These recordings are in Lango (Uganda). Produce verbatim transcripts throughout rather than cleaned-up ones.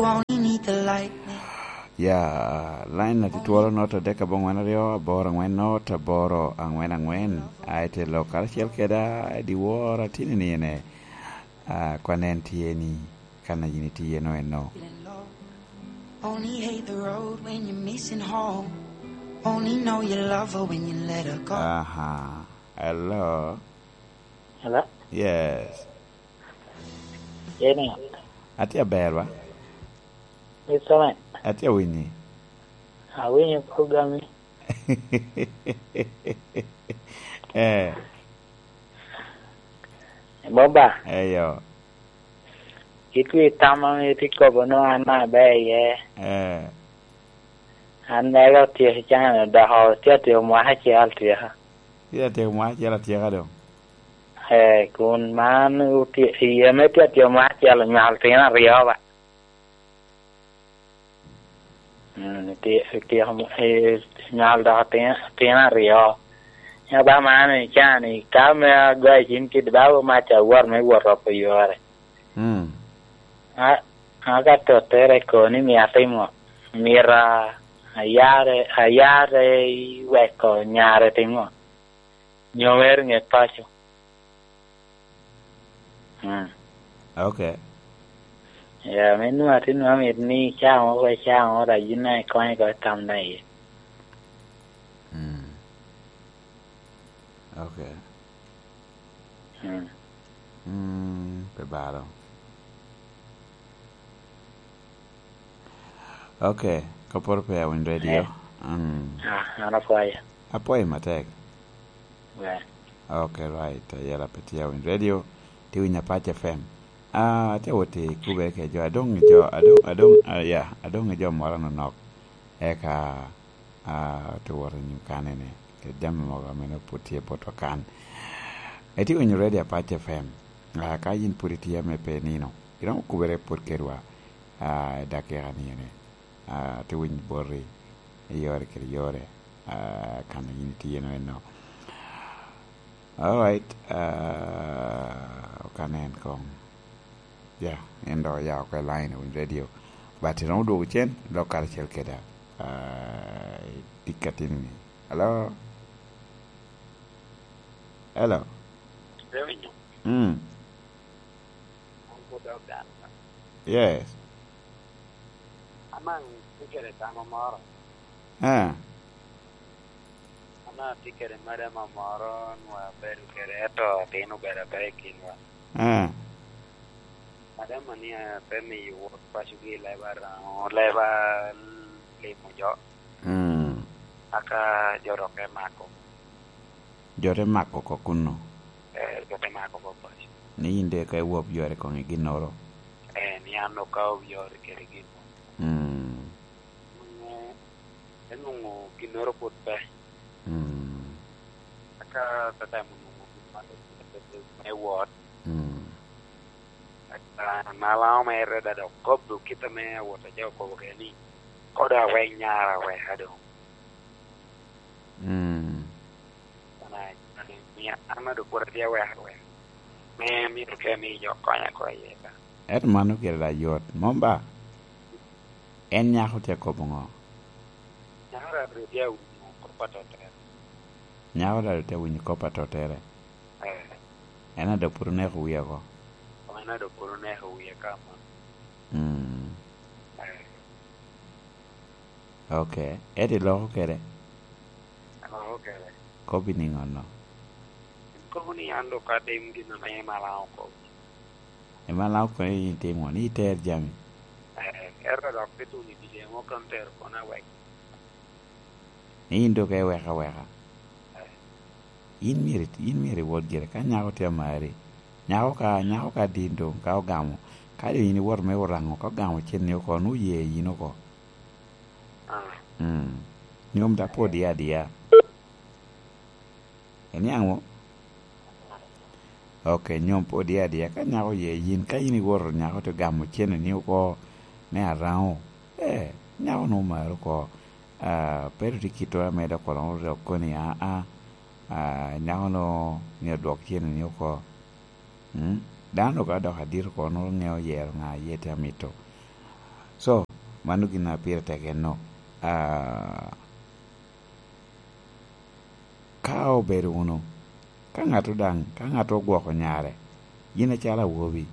Only need the lightning. Ya, line atitwolo not adek abongwen aryo, aboro angwen not, aboro angwen angwen. Aye te lok karacel keda, diwar atini ni ene. Ah, kwan en tye ni, kan a yin itye eno eno. Only hate the road when you're missing home. Only know you love her when you let her go. Aha. Hello? Hello? Yes. Eni? Atye aber, ba? Mister Man. Atye awinyi. Awinyo program ni. Eh. Boba. Eyo. Itye i tam ame itye kobo nwa an aber iye. Eh. An mere otyeko i can dok tye atyeko mwaka acel atyeka. Tye atyeko mwaka acel atyeka doŋ. Eh, kun man otye, i ame tye atyeko mwaka acel onywalo tino aryo ba. Mm, tye, tye, eh, nywalo dok tino, tino aryo. Ya ba man i can i ka me agoyo cim kidi ba mac awot me wot oko yore. Mm. A, a ka tottere kono ni mia atimo, myero a-, ayare, ayare i weko nyare timo. Nyo mere ŋe paco. Mm. Ok. Ya, me nwa ti nwa mit ni caŋo ko caŋo da yin na ikonyo ko tam na iye. Mm. Ok. Mm. Mm, pe balo. Ok, ka poro pe awinyo radio. Eh. Mm. Ah, an apwoyo. Apwoyo matek. Ber. Ok, right. Ayela pe tye awinyo radio. Tye winyo Apac F M. Ah, atye wot i kubere ke jo. Adong i jo, adong, adong, ah, ya, adong i jo moro nonok. Eka, ah, atye wot i nyo kanene. Kede jami mogo ame nongo pwod tye botwa kan. Itye winyo radio Apac F M. Ah, ka yin pwod itye ame pe nino, iromo kubere pwod kedwa, ah, i dakika ni ene. Ah, atye winyo boti i yore kede yore, ah, kan a yin itye eno eno. All right, ah, okane en kong. Ya, en dok oya oko i line, owinyo radio. But iromo dwogo cen, lok karacel keda, ah, i tic atini ni. Hello? Hello? Mm. Yes. Amaŋ tye kede tamo moro. Eh. An atye kede madam moro nwa abedo kede, ento atin obedo abe i kinwa. Eh. Madam ni pe miyo wot pacogi leba raŋo, leba limo jo. Mm. Aka jo dok emako. Jo te mako oko kuno. Eh, jo te mako oko paco. Ni yin de ka iwop yore koŋ i ginnoro. Eh, ni an okawo yore kede ginnoro. Mm. Onwoŋo, enwoŋo ginnoro pwod pe. Mm. Aka tatemo nwoŋo gin ma me wot. Mm. Aka Malaŋo mere da dok kobbe kit ame awot aja okobo kede ni, "Kodo awek nyara weka doŋ." Mm. An a-, an a-, mia, an a dok pwod atye awek awek. Me myero ke mi jo konya oko iye ka. Ento mano gire da yot, mom ba? En nyako tye akobo ŋo? Nyako da dok tye awinyo kop a tottere. Nyako da dok tye awinyo kop a tottere. Eh. En a dok pwod oneko wie oko. En a dok pwod oneko wie ka man. Mm. Eh. Ok. Ento iloko kede? Aloko kede. Kobbi niŋo no? Kobo ni an dok atim gin ame Malaŋo okobo. Ema Malaŋo okobo ni itimo, ni iter jami. Eh, ento dok bituno i dye mo kono tero kono awek. Ni yin dok iweko aweka. Eh. In myero, in myero iwot gire. Ka nyako tye amari, nyako ka, nyako ka din doŋ, ka ogamo, ka doŋ in iwoto me oraŋo, ka ogamo cen ni oko, nwoŋo oye yin oko. Ah. Mm. Nyom da pe odiya adiya. Iniaŋ wo? Ok, nyom pe odiya adiya. Ka nyako oye yin, ka in iwoto nyako te gamo cen ni oko me araŋo, eh, nyako nwoŋo mari oko. Ah, pe ru tye kit ame dok kono dok koni, aa, ah, nyako-nu myero odwok cen ni oko. Mm? Dano ka dok adito oko, nwoŋo ŋeo yero ŋa a ye te amito. Mano gin a pire tek enno. Ah, ka obedo wunu, ka ŋato daŋ, ka ŋato ogwoko nyare, yin acalo awobi,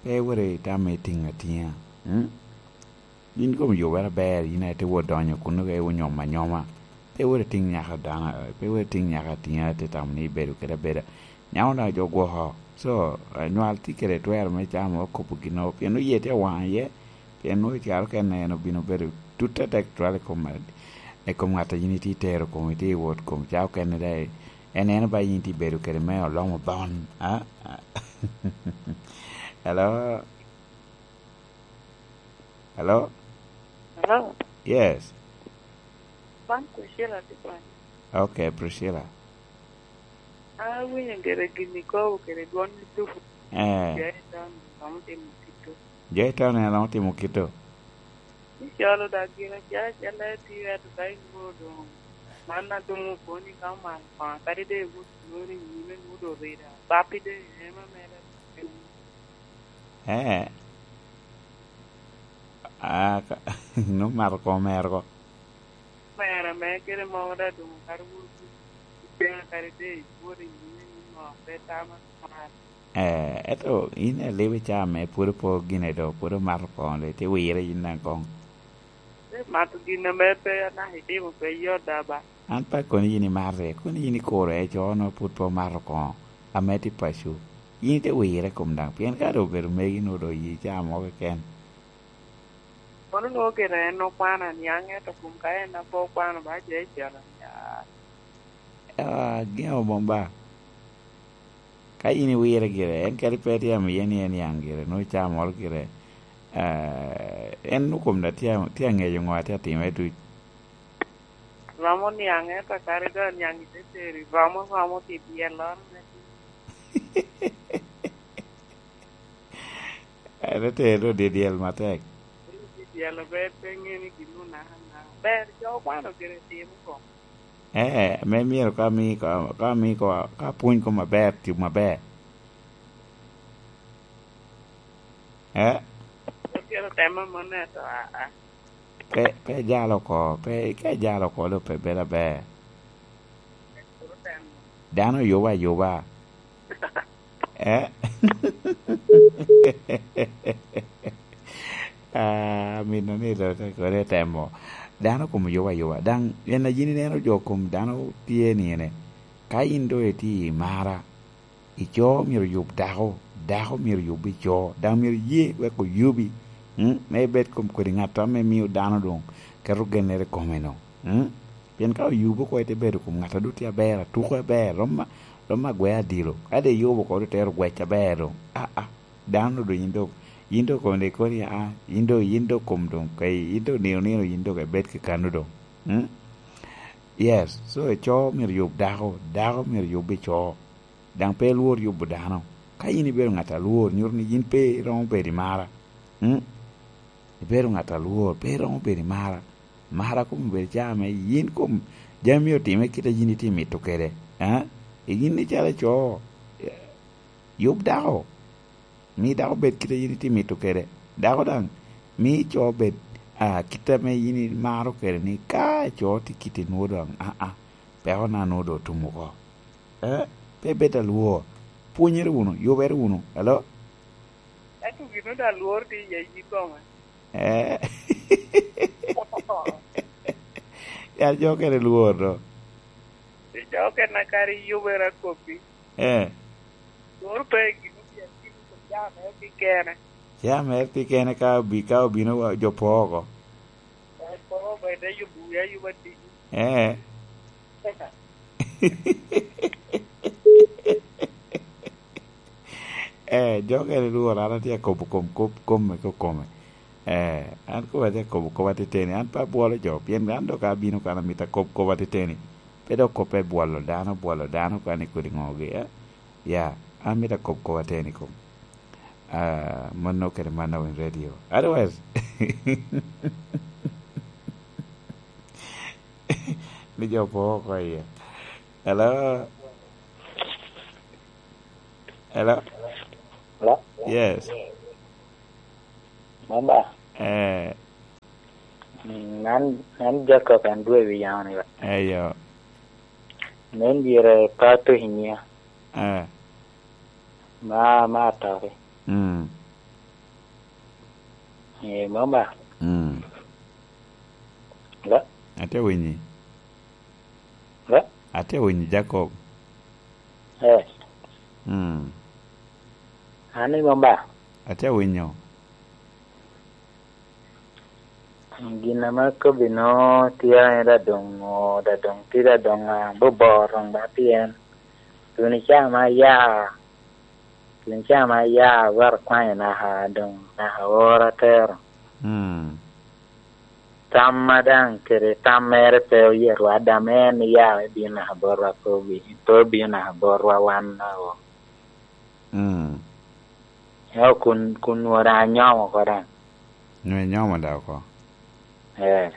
pe iwot itame itiŋ atiŋa. Mm? Yin kom yubere aber, yin aye te wot donyo kuno ka iwot nyomo anyoma. Pe wot itiŋ nyaka dano, pe wot itiŋ nyaka atiŋa, te tamo ni ibedo kede abeda. Nyaŋo daŋ jo gwoko. So, anywal tye kede twero me camo, okobo gin o, pien oye tye awaŋ iye, pien nwoŋo i kare okene en obino bedo tut atek twal i kom, i kom ŋat a yin itye itero kom, itye i wot kom, ca okene daŋ en eno ba yin tye ibedo kede me olomo bon. Ah, ah. Hello? Hello? Hello? Yes. Man Priscilla tye kwan. Okay, Priscilla. Awinyo gire gin ikobo kede dwon ituko. Eh. Jo i town romo timo kito. Jo i town en romo timo kito. Icolo dak gin acel acel a tye, ento ka inwoŋo doŋ man a doŋ okoni ka omaro koŋa, kadi doŋ iwot inwoŋo ni nyime nwoŋo doŋ orida, bappi doŋ ema mere. Eh. Ah, ka, nwoŋo mato koŋ omero ko. Omero mere kede mogo daŋ doŋ okato wunu i cen kadi doŋ iwot i nyime ni ŋo pe tama mar. Eh, ento yin alibo i caa me pwod opo gine do, pwod omato koŋ, itye wire yin daŋ koŋ. Pe mato gin ame pe anaka itimo pe yot da ba. An pe akoni yin imate, koni yin ikuro en co onongo pwod pe omato koŋo, ame tye paco. Yin ite wire kom daŋ, pien ka doŋ obedo megi nwoŋo doŋ oye caa mo keken. Kono nwoŋo gire en okwano aniaŋ, ento kom ka en apo okwano ba jo icel aniaŋ. Ah, gin omon ba. Ka yin iwire gire, en kadi pe tye amiye ni en niaŋ gire, nwoŋo caa moro gire, ah, en nwoŋo kom da tye, tye aŋeyo ŋo a tye atime duc. Romo niaŋ, ento kadi doŋ aniaŋ ite teri, romo, romo pi dyelloro me En ete doŋ dyel matek. Dyel ber pe ŋe ni gin onaka naka. Ber, jo okwano gire timo ko. Eh, me myero ka mi, ka, ka mi ko, ka pwony kom aber, tye maber. Eh? Kelo tema mone to, a, a. Pe, pe jalo oko, pe, ka ijalo oko doŋ pe bedo aber. Dano yubo ayuba. Eh? Ah, amito ni lo te kodi temo. Dano kom yubo ayuba. Daŋ en a yin ineno jo kom dano tye ni ene. Ka yin doŋ itye i mara, ico myero oyub dako, dako myero oyub ico, daŋ myero ye wek oyubi, mm, me ibed kom kodi ŋat ame mio dano doŋ keto gennere i kome-nu, mm. Pien ka oyubo oko ite bedo kom ŋat a doŋ tye aber, atuko aber, rom ma, rom ma gwe adilo. Ka doŋ iyubo oko doŋ tero gwec aber doŋ. Ah, ah, dano doŋ yin doŋ, yin doŋ kom doŋ ikoni, ah, yin doŋ, yin doŋ kom doŋ, ka yin doŋ nino nino yin doŋ ibed kekano doŋ. Mm? Yes, so ico myero yub dako, dako myero yub ico. Daŋ pe ilwor yubo dano. Ka yin ibedo ŋat alwor, nyuto ni yin pe iromo bedo i mara. Mm? Ibedo ŋat alwor, pe iromo bedo i mara. Mara kom obedo caa me yin kom jami otimme kit a yin itye mito kede. Eh? Yin icalo ico, eh, yub dako. Mi dako bed kit a yin itye mito kede. Dako daŋ, mi ico bed, ah, kit ame yin imaro kede ni ka ico tye kit i nwoŋo daŋ, ah, ah, peko na nwoŋo doŋ otum oko. Eh, pe bed alwor. Pwonyere wunu, yubere wunu. Alo? Ento gin onwoŋo daŋ lworo tye i yi kome. Eh. Ya jo kede lwor do. Pi jo kena kare yubere akobbi. Eh. Lworo pe gin obia timo kede jami mere kekene. Jami mere kekene ka obi-, ka obino wa-, jo po oko. Jo po oko, ite yubo wiya yuba tigi. Eh. Eh, jo kene lworo, an atye akobo kom, kop, kom me kokome. Eh, an kop atye akobo kop ateteni, an pe abwolo jo, pien an dok abino kan amito akob kop ateteni. Pe dok kop me bwolo dano, bwolo dano kan i kodi ŋogi, eh? Ya, an mito akob kop ateni kom. Ah, mano kede mano in radio. Otherwise, ni jo po oko iye. Hello? Hello? Hello? Yes. Mama. Eh. Man, man Jacob en dwe wi yamo ni ba. Eyo. Nen dire pa to inyia. Eh. Ma, ma atari. Mm. Eh, mama. Mm. La. Ate winyi. La. Ate winyi, Jacob. Eh. Mm. Ani mama. Ate winyo. Gin ame akobbi no tye ame da doŋ, da doŋ tye da doŋ, ah, bobor doŋ ba pien tun ica ma ya, tun ica ma ya awero kwanyo naka doŋ, naka ora atero. Mm. Tam ma daŋ kede tam mere pe oye rwadda, ame en ya me bino naka botwa pe obi-, pe obino naka botwa wan naka. Mm. Eo kun, kun nwoŋo daŋ anyomo oko daŋ. Nwoŋo inyomo daŋ oko? Eh.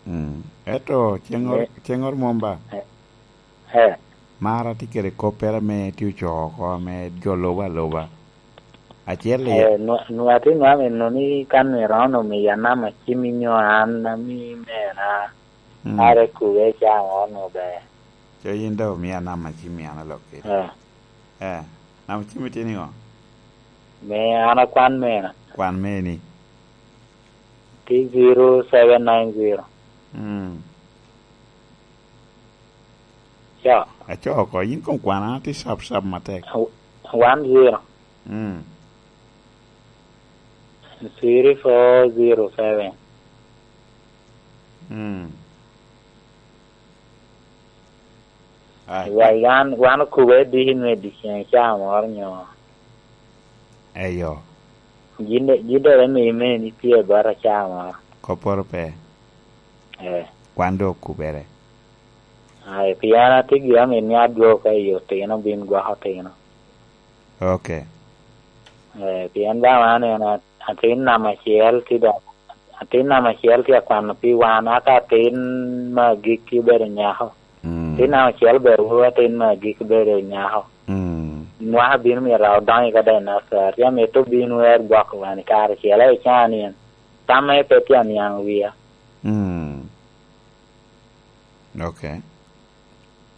Mm. Ento ceŋŋoro, eh, ceŋŋoro mom ba? Eh. Eh. Mar atye kede koppere ame tye ocoo oko ame jo lubo aluba. Acel i Eh, nwa-, nwa-, atye nwa meno ni ka nwe rono miya namba cim inyo an ami mena. Mm. Are kube ca mo nwo ber. Co yin dok omia namba cim an alok kede. Eh. Eh, namba cim itye niŋo? Me an akwan mena. Kwan meni? Tye zero seven nine zero. Mm. Co. Aco oko, yin koŋ kwan, an atye cap cap matek. One zero. Mm. Three four zero seven. Mm. Ai, wan, wan okube diki me dyeceŋ ca moro nyo. Eyo. Gin de, gin de eme ime ni tye bot aca moro. Kopporo pe. Eh. Kwan dok okubere. Ai, pien atye gin amit ni adwogo ka i otino bin gwoko otino. Ok. Eh, pien daŋ aneno at-, atin namba acel tye dok, atin namba acel tye akwano pi wan, aka atin me agikki obedo nyako. Mm. Atin namba acel obedo woro, atin me agikki obedo nyako. Mm. Mwaka bino myero odonyo ka dai nasar. Tye amito bino wer gwoko wan i kare acel, aye can en. Tam me pe tye aniaŋ wia. Mm. Ok.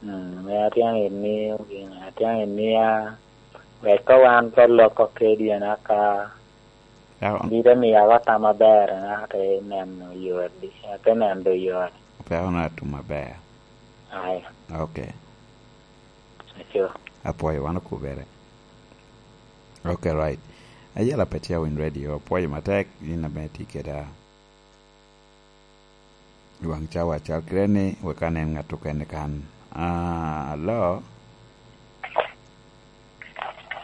Mm, me atye amito ni, atye amito ni a, wek ka wan ka loko kedi en aka, ya, bino miyo awa tam aber, en ate neno yot, ate neno yot. Pe ono atum aber. Ai. Ok. Aco. Apwoyo, wan okubere. Ok, right. Ayela Petia Win Radio, apwoyo matek, in ame tye keda. I waŋ cawa cal kite ni, wek anen ŋat okene kan. Ah, hello?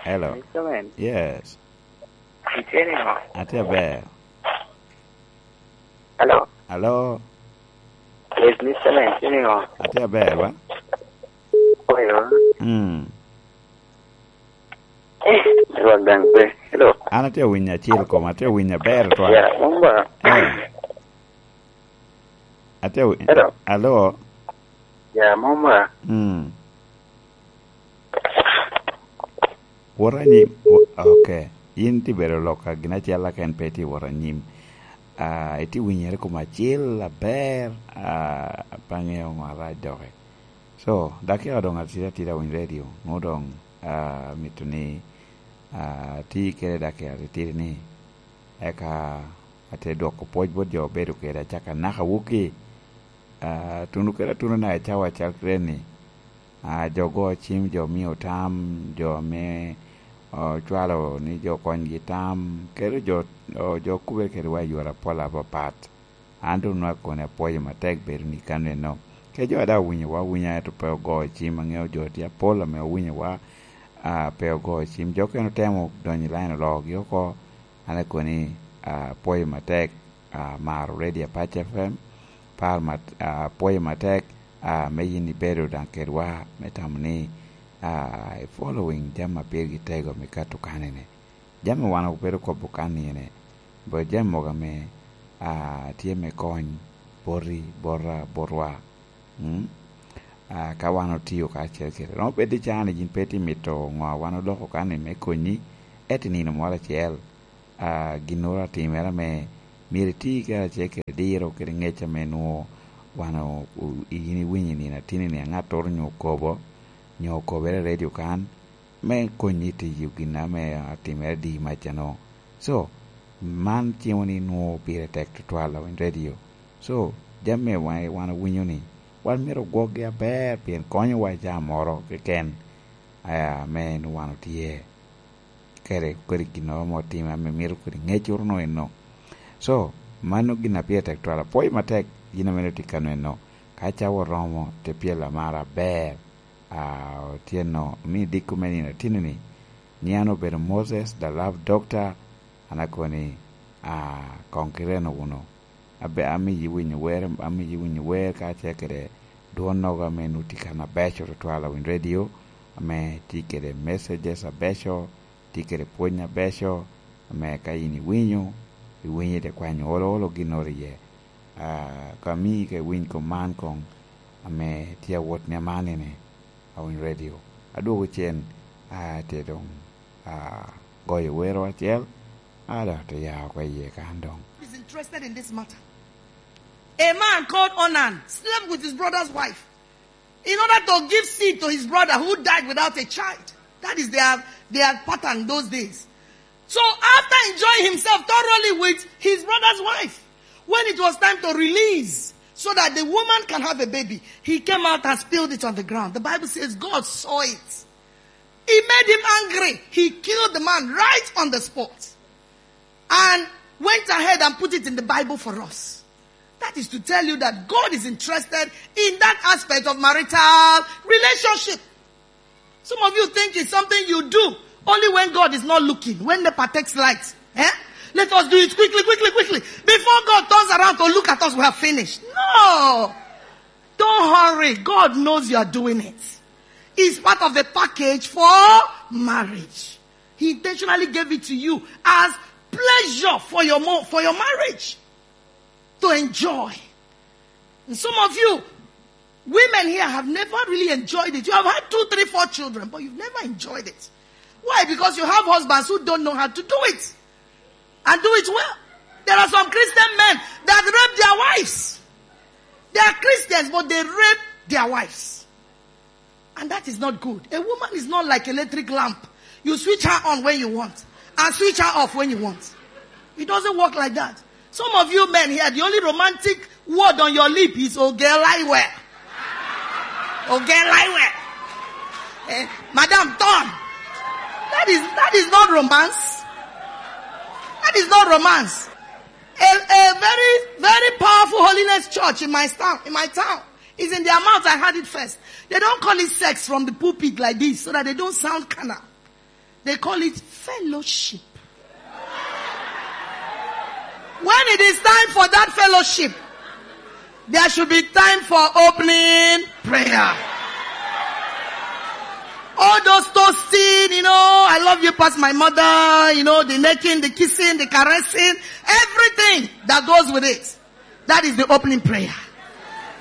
Hello? Mister Man. Yes. Itye niŋo? Atye aber. Hello? Hello? Yes, Mister Man, itye niŋo? Atye aber, wa? Oyo. Mm. Eh, Rwak daŋ pe. Hello. An atye awinyo acel kom, atye awinyo aber twal. Ya, mom ba. Eh. Atye awi-, hello. Alo. Ya, mom ba. Mm. Wot anyim. Wo-, ok. In tye bedo lok ka gin acel, aka en pe tye wot anyim. Ah, itye winyere kom acel aber, ah, pe aŋeo ŋo arac doki. So, dakika doŋ atidi atida winy radio, nwoŋo doŋ, ah, amito ni, ah, ati kede dakika titidi ni, eka ate dwoko pwoc bot jo obedo kede, acaka naka wuki, ah, tuno kede atuno naka i cawa cal kede ni, ah, jo go cim, jo mio tam, jo ame, ah, ocwalo ni jo konygi tam, kede jo, oh, jo okubere kede wa i yore apol apapat. An doŋ nwa koni apwoyo matek bedo ni kaneno. Kec jo a daŋ owinyowa awinya, ento pe ogo cim, aŋeo jo tye apol ame owinyowa, ah, pe ogo cim. Jo okene otemo donyo i line oloogi oko. An akoni, ah, apwoyo matek, ah, maro Radio Apac F M. Par mat-, ah, apwoyo matek, ah, me yin ibedo daŋ kedwa, me tamo ni, ah, i following jami ma pirgi tego me kato kanene. Jami wan obedo kobo kan ni ene, bot jami mogo ame, ah, tye me kony boti, bota, botwa. Mm? Ah, ka wan otio kacel kede, romo bedo ni caa ni yin pe itye mito ŋo a wan oloko kan ni me konyi, ento i nino moro acel, ah, ginnoro atimere ame Myero iti karacel kede diro kede ŋec ame nwoŋo wan o-, o-, in iwinyo i nino atini-ni, aŋattoro nyo okobo, nyo okobere i redio kan, me konyi i tiyo gin ame atimere adi macano. So, man cimo ni nwoŋo pire tek tutwal awiny redio. So, jami ame wan, wan owinyo ni, wan myero ogwokgi aber, pien konyowa i caa moro keken, aa, ame en wan otye kede, kede ginnoro mo otime ame mito kodi ŋeccoro no eno. So, mano gin a pire tek twal. Apwoyo matek yin ame itye kano eno. Ka cawa oromo, te pyelo amara aber. Ah, otyeno, omi dikko me nino atini-ni, ni an obedo Moses, the love doctor, an akoni, ah, koŋ kireno wunu. Abe, amiyi winyo wer, amiyi winyo wer kacel kede dwonnogo ame nwoŋo tye kan abeco tutwal awiny redio, ame tye kede messages abeco, tye kede pwony abeco, ame ka in iwinyo, iwinyo ite kwanyo olo olo ginnoro iye. Ah, ka mi ka iwiny kom man koŋ, ame tye awot ni amanini, awiny redio. Adwogo cen, ah, te doŋ, ah, goyo wero acel, ah, dok te ya oko iye kan doŋ. Is interested in this matter. A man called Onan slept with his brother's wife in order to give seed to his brother who died without a child. That is their, their pattern those days. So after enjoying himself thoroughly with his brother's wife, when it was time to release so that the woman can have a baby, he came out and spilled it on the ground. The Bible says God saw it. He made him angry. He killed the man right on the spot and went ahead and put it in the Bible for us. That is to tell you that God is interested in that aspect of marital relationship. Some of you think it's something you do only when God is not looking, when NEPA takes light. Eh? Let us do it quickly, quickly, quickly. Before God turns around to look at us, we have finished. No! Don't hurry. God knows you are doing it. It's part of the package for marriage. He intentionally gave it to you as pleasure for your mo-, for your marriage to enjoy. And some of you women here have never really enjoyed it. You have had two, three, four children, but you've never enjoyed it. Why? Because you have husbands who don't know how to do it and do it well. There are some Christian men that rape their wives. They are Christians, but they rape their wives. And that is not good. A woman is not like electric lamp. You switch her on when you want and switch her off when you want. It doesn't work like that. Some of you men here, the only romantic word on your lip is "Oh girl, I wear." "Oh girl, I wear." Eh, madam, turn. That is, that is not romance. That is not romance. A, a very, very powerful holiness church in my town, in my town. It's in their mouth I heard it first. They don't call it sex from the pulpit like this so that they don't sound carnal. They call it fellowship. When it is time for that fellowship, there should be time for opening prayer. All those toasting, you know, "I love you past my mother," you know, the necking, the kissing, the caressing, everything that goes with it. That is the opening prayer.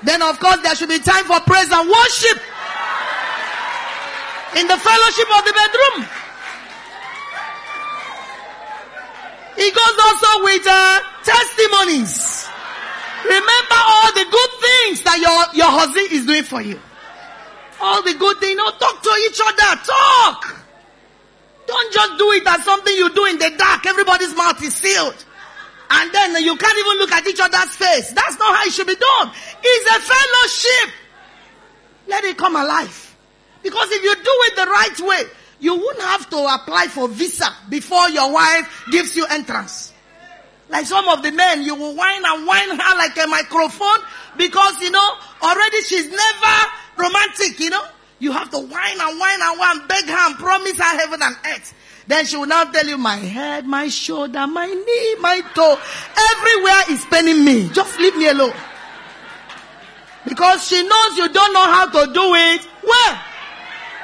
Then, of course, there should be time for praise and worship in the fellowship of the bedroom. It goes also with, uh, testimonies. Remember all the good things that your, your husband is doing for you. All the good things. You know, talk to each other. Talk. Don't just do it as something you do in the dark. Everybody's mouth is sealed. And then you can't even look at each other's face. That's not how it should be done. It's a fellowship. Let it come alive. Because if you do it the right way, you won't have to apply for visa before your wife gives you entrance. Like some of the men, you will whine and whine her like a microphone because, you know, already she's never romantic, you know. You have to whine and whine and whine, beg her and promise her heaven and earth. Then she will now tell you, "My head, my shoulder, my knee, my toe, everywhere is paining me. Just leave me alone." Because she knows you don't know how to do it well.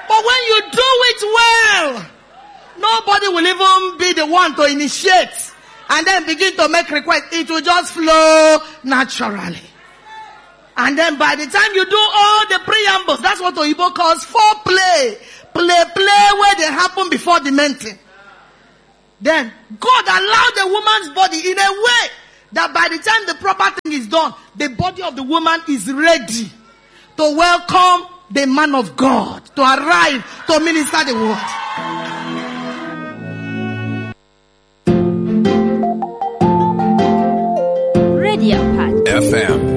But when you do it well, nobody will even be the one to initiate and then begin to make requests. It will just flow naturally. And then by the time you do all the preambles, that's what Oyibo calls foreplay. Play, play where they happen before the main thing. Then God allowed the woman's body in a way That by the time the proper thing is done, the body of the woman is ready to welcome the man of God to arrive to minister the word. Radio Park. F M.